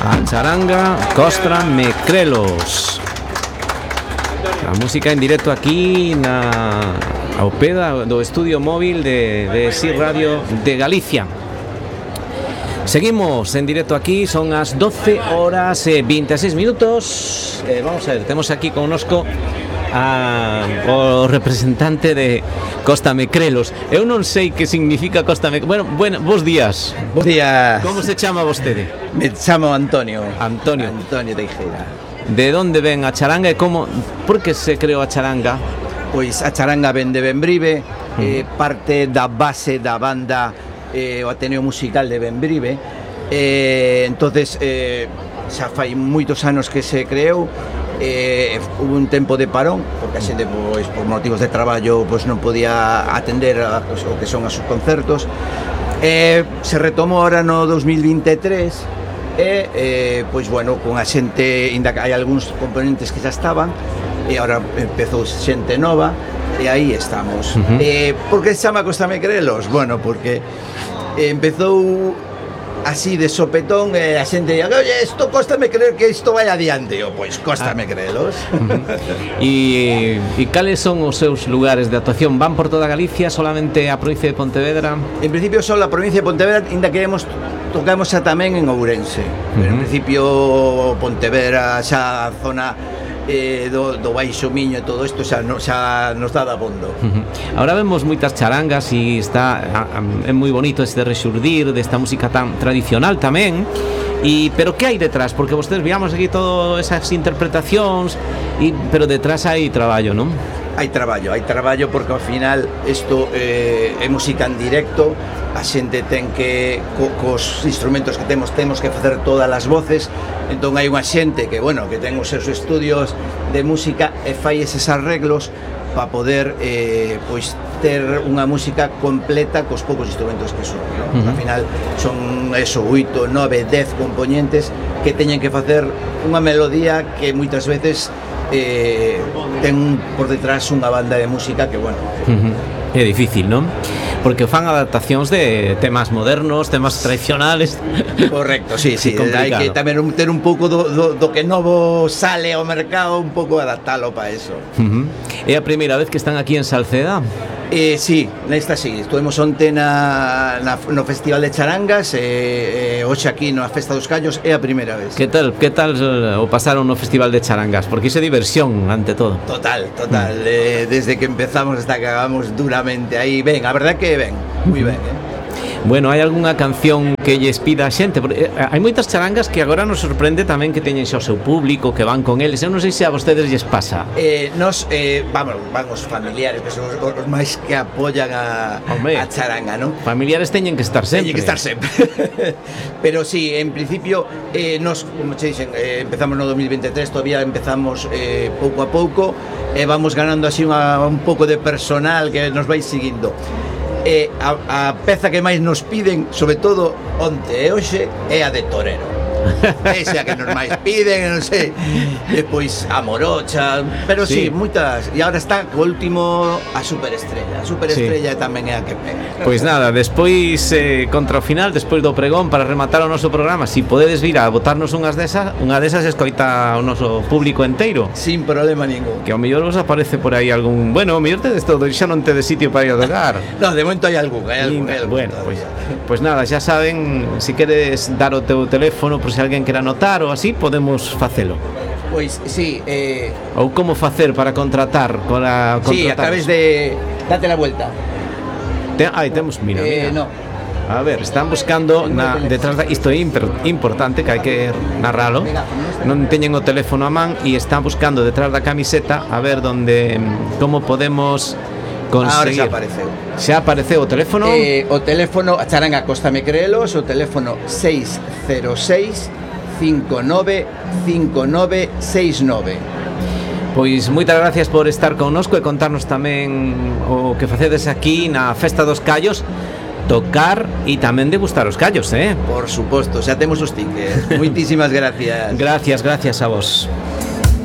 A charanga Costra Mecrelos. A música en directo aquí ao pé do estudio móvil de SIR Radio de Galicia. Seguimos en directo aquí, son as 12 horas e 26 minutos. Vamos a ver, temos aquí connosco o representante de Costa Mecrelos. Eu non sei que significa Costa Mecrelos. Bueno, bos días. Bos días. Como se chama vostede? Me chamo Antonio. Antonio Teixeira. De onde ven a charanga e como, por que se creou a charanga? Pois a charanga ven de Bembrive, parte da base da banda o Ateneo Musical de Bembrive. Entonces xa fai moitos anos que se creou. Hubo un tempo de parón porque a xente, pois, por motivos de traballo, pois non podía atender o que son os concertos. Se retomou ahora no 2023 pois bueno, con a xente, ainda que hai algúns componentes que xa estaban e agora empezou xente nova e aí estamos. Por que se chama Costa Mecrelos? Bueno, porque empezou así de sopetón, a xente diga, oye, isto cóstame creer que isto vai adiante. Pois cóstame creelos. E cales son os seus lugares de actuación? Van por toda Galicia, solamente a provincia de Pontevedra? En principio só a provincia de Pontevedra, ainda que tocamos xa tamén en Ourense. Pero en principio Pontevedra, xa a zona do Baixo Miño e todo isto xa nos dá dabondo. Ahora vemos moitas charangas e é moi bonito este rexurdir desta música tan tradicional tamén. Pero que hai detrás? Porque vostedes veamos aquí todas esas interpretacións, pero detrás hai traballo, non? Hai traballo porque ao final isto é música en directo. A xente ten que cos instrumentos que temos que facer todas as voces. Entón hai unha xente que, bueno, que ten os seus estudios de música e fai eses arreglos para poder pois ter unha música completa cos poucos instrumentos que son, ¿no? Al final son 8, 9, 10 componentes que teñen que facer unha melodía que moitas veces ten por detrás unha banda de música que, bueno, é difícil, non? Porque fan adaptacións de temas modernos, temas tradicionales. Correcto, sí, hai que tamén ter un pouco do que novo sale ao mercado, un pouco adaptalo para eso. É a primeira vez que están aquí en Salceda? Sí, nesta sí, estuvemos onte no Festival de Charangas e hoxe aquí na Festa dos Callos é a primeira vez. Que tal o pasaron no Festival de Charangas? Porque iso é diversión, ante todo. Total, desde que empezamos hasta que acabamos duramente aí, ben, a verdad que ben, moi ben, Bueno, hai algunha canción que lles pida a xente? Porque hai moitas charangas que agora nos sorprende tamén que teñen xa o seu público, que van con eles. Eu non sei se a vostedes lles pasa. Van os familiares, que son os máis que apoyan a charanga, non? Familiares teñen que estar sempre. Pero sí, en principio, nos, como che dixen, empezamos no 2023, todavía empezamos pouco a pouco, e vamos ganando así un pouco de personal que nos vai seguindo. A peza que máis nos piden, sobre todo onte e hoxe, é a de Torero. Esa que nos máis piden, non sei. Depois a Morocha, pero sí, moitas. E agora está o último, a Superestrella. A Superestrella tamén é a que pega. Pois nada, despois contra o final, despois do pregón, para rematar o noso programa, si podedes vir a botarnos unha desas escoita o noso público enteiro. Sin problema ningún. Que ao mellor vos aparece por aí algún, bueno, ao mellor tedes todo, xa non tedes sitio para ir a tocar. No, de momento hai algún. Bueno, pois nada, xa saben, si queres dar o teu teléfono, por se alguén quere anotar ou así, podemos facelo. Pois sí, ou como facer para contratar sí, a través de date la vuelta. Temos, mira. No. A ver, están buscando detrás isto é importante, que hai que narralo. Non teñen o teléfono a man e están buscando detrás da camiseta a ver como podemos conseguir. Ahora xa apareceu o teléfono. O teléfono a charanga Costa Mecrelos, o teléfono 606 595969. Pois moitas gracias por estar connosco e contarnos tamén o que facedes aquí na Festa dos Callos, tocar e tamén degustar os callos, Por suposto, xa temos os tickets. Moitísimas gracias. Gracias a vos.